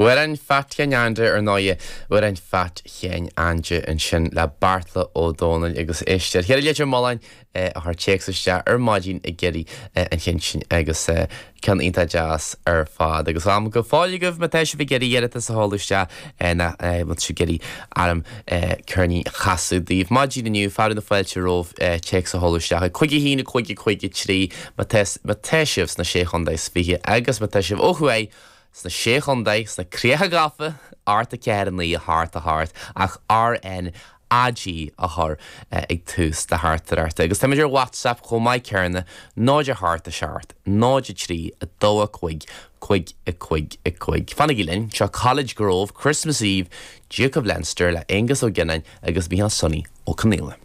Amhrán Phat Sheáin Aindí ar ndóighe, Amhrán Phat Sheáin Aindí ansin le Beartla Ó Domhnaill agus éist ar Cheithre Leitir Mealláin a chuir téacs isteach ar maidin ag iarraidh an chinn sin agus ceann iontach deas ar fad. Agus am go fóill agaibh má tá sibh ag iarraidh iarratas a sheoladh isteach nó má tá sibh ag iarraidh orm ceirnín a chasadh daoibh maidin inniu, fearadh na fáilte romhaibh téacs a sheoladh isteach ag 5 1 5 5 3 má tá sibh sna Sé Chontae is Fiche agus má tá sibh ó thuaidh sna Sé Chontae, sna Críocha Gafa, 8 4 9 8 8, ach RNAG a chur ag tús do theachtaireachta. Agus táimid ar WhatsApp chomh maith céanna, 0 8 7 0 3 2 5 5 5 5. Fanaigí linn, seo College Grove, Christmas Eve, Duke of Leinster le Aengus Ó Gionnáin agus Micheál Sonny Ó Conaola.